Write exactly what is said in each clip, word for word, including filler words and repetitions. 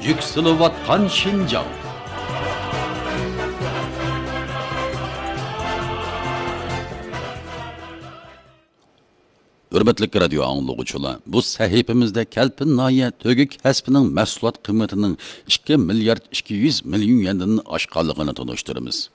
يۈكسىلىۋاتقان شىنجاڭ. ھۆرمەتلىك رادىيو ئاڭلىغۇچىلار، بۇ سەھىپىمىزدە كەلپىن ناھىيە تۆگە كەسپىنىڭ مەھسۇلات قىممىتىنىڭ ئىككى مىليارد ئىككى يۈز مىليون يۈەندىن ئاشقانلىقىنى تونۇشتۇرىمىز.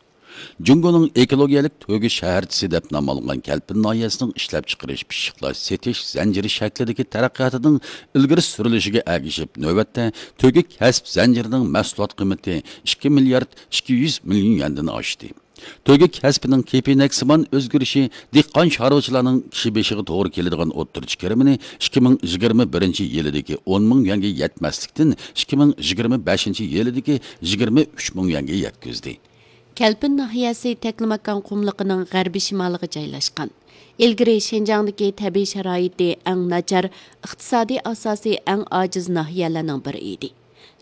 جۇڭگونىڭ ئېكولوگىيەلىك تۆگە شەھەرچىسى دەپ نام ئالغان كەلپىن ناھىيەسىنىڭ ئىشلەپچىقىرىش، پىششىقلاش، سېتىش زەنجىرى شەكلىدىكى تەرەققىياتىنىڭ ئىلگىرى سۈرۈلۈشىگە ئەگىشىپ، نۆۋەتتە تۆگە كەسىپ زەنجىرىنىڭ مەھسۇلات قىممىتى ئىككى مىليارد ئىككى يۈز مىليون يۈەندىن ئاشتى. تۆگە كەسپىنىڭ كېپىنەكسىمان ئۆزگىرىشى دېھقان-چارۋىچىلارنىڭ كىشى بېشىغا توغرا كېلىدىغان ئوتتۇرىچە كىرىمىنى ئىككى مىڭ يىگىرمە بىرىنچى يىلىدىكى ئون مىڭ يۈەنگە يەتمەسلىكتىن، ئىككى مىڭ يىگىرمە بەشىنچى يىلىدىكى يىگىرمە ئۈچ مىڭ يۈەنگە يەتكۈزدى. كەلپىن ناھىيەسى تەكلىماكان قۇملۇقىنىڭ غەربىي شىمالىغا جايلاشقان. ئىلگىرى شىنجاڭدىكى تەبىئىي شارائىتى ئەڭ ناچار، ئىقتىسادىي ئاساسى ئەڭ ئاجىز ناھىيەلەرنىڭ بىرى ئىدى.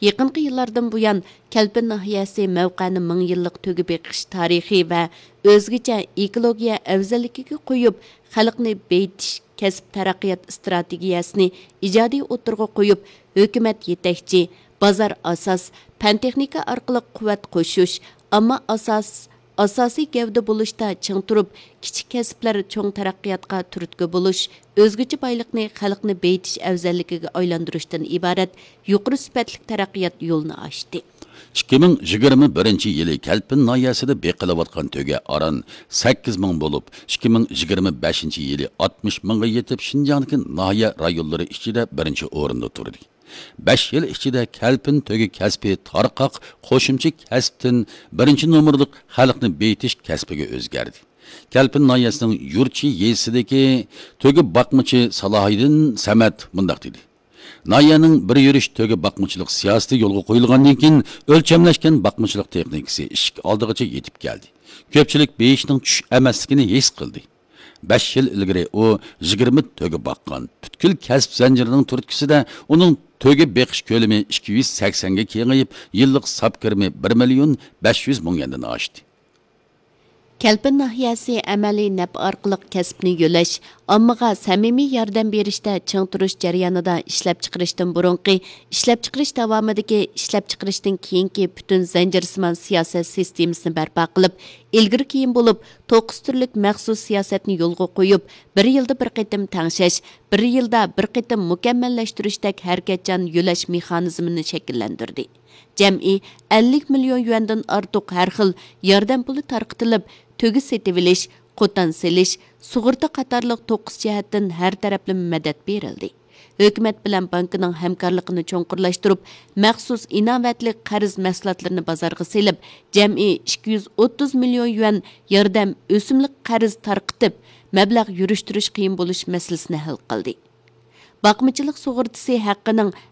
يېقىنقى يىللاردىن بۇيان، كەلپىن ناھىيەسى مەۋقەنى مىڭ يىللىق تۆگە بېقىش تارىخى ۋە ئۆزگىچە ئېكولوگىيە ئەۋزەللىكىگە قويۇپ، خەلقنى بېيىتىش، كەسىپ تەرەققىيات ئىستراتېگىيەسىنى ئىجادىي ئوتتۇرىغا قويۇپ، ھۆكۈمەت يېتەكچى، بازار ئاساس، پەن-تېخنىكا ئارقىلىق قۇۋۋەت قوشۇش، ئامما ئاساس، ئاساسىي گەۋدە بولۇشتا چىڭ تۇرۇپ، كىچىك كەسىپلەر چوڭ تەرەققىياتقا تۈرتكە بولۇش، ئۆزگىچە بايلىقنى خەلقنى بېيىتىش ئەۋزەللىكىگە ئايلاندۇرۇشتىن ئىبارەت يۇقىرى سۈپەتلىك تەرەققىيات يولىنى ئاچتى. ئىككى مىڭ يىگىرمە بىرىنچى يىلى كەلپىن ناھىيەسىدە بېقىلىۋاتقان تۆگە ئاران سەككىز مىڭ بولۇپ، ئىككى مىڭ يىگىرمە بەشىنچى يىلى ئاتمىش مىڭغا يېتىپ، شىنجاڭدىكى ناھىيە رايونلىرى ئىچىدە بىرىنچى ئورۇندا تۇردى. بەش يىل ئىچىدە كەلپىن تۆگە كەسپى تارقاق قوشۇمچە كەسىپتىن بىرىنچى نومۇرلۇق خەلقنى بېيىتىش كەسپىگە ئۆزگەردى. كەلپىن ناھىيەسىنىڭ يۇرتچى يېزىسىدىكى تۆگە باقمىچى سالاھىدىن سەمەت مۇنداق دېدى: ناھىيەنىڭ بىر يۈرۈش تۆگە باقمىچىلىق سىياسىتى يولغا قويۇلغاندىن كېيىن، ئۆلچەملەشكەن باقمىچىلىق تېخنىكىسى ئىشىك ئالدىغىچە يېتىپ كەلدى. كۆپچىلىك بېيىشنىڭ چۈش ئەمەسلىكىنى ھېس قىلدى. بەش يىل ئىلگىرى ئۇ يىگىرمە تۆگە باققان. پۈتكۈل كەسىپ زەنجىرىنىڭ تۈرتكىسىدە ئۇنىڭ تۆگە بېقىش كۆلىمى ئىككى يۈز سەكسەنگە كېڭىيىپ، يىللىق ساپ كىرىمى بىر مىليون بەش يۈز مىڭ يۈەندىن ئاشتى. كەلپىن ناھىيەسى ئەمەلىي نەپ ئارقىلىق كەسىپنى يۆلەش، ئاممىغا سەمىمىي ياردەم بېرىشتە چىڭ تۇرۇش جەريانىدا ئىشلەپچىقىرىشتىن بۇرۇنقى، ئىشلەپچىقىرىش داۋامىدىكى، ئىشلەپچىقىرىشتىن كېيىنكى پۈتۈن زەنجىرسىمان سىياسەت سىستېمىسىنى بەرپا قىلىپ، ئىلگىرى كېيىن بولۇپ، توققۇز تۈرلۈك مەخسۇس سىياسەتنى يولغا قويۇپ، بىر يىلدا بىر قېتىم تەڭشەش، بىر يىلدا بىر قېتىم مۇكەممەللەشتۈرۈشتەك ھەرىكەتچان يۆلەش مېخانىزمىنى شەكىللەندۈردى. جەمئىي ئەللىك مىليون يۈەندىن ئارتۇق ھەر خىل ياردەم پۇلى تارقىتىلىپ، تۆگە سېتىۋېلىش، قوتان سېلىش، سۇغۇرتا قاتارلىق توققۇز جەھەتتىن ھەر تەرەپلىمە مەدەت بېرىلدى. ھۆكۈمەت بىلەن بانكىنىڭ ھەمكارلىقىنى چوڭقۇرلاشتۇرۇپ، مەخسۇس ئىناۋەتلىك قەرز مەھسۇلاتلىرىنى بازارغا سېلىپ، جەمئىي ئىككى يۈز ئوتتۇز مىليون يۈەن ياردەم ئۆسۈملۈك قەرز تارقىتىپ، مەبلەغ يۈرۈشتۈرۈش قىيىن بولۇش مەسىلىسىنى ھەل قىلدى. باقمىچىلىق سۇغۇرتىسى ھەققىنىڭ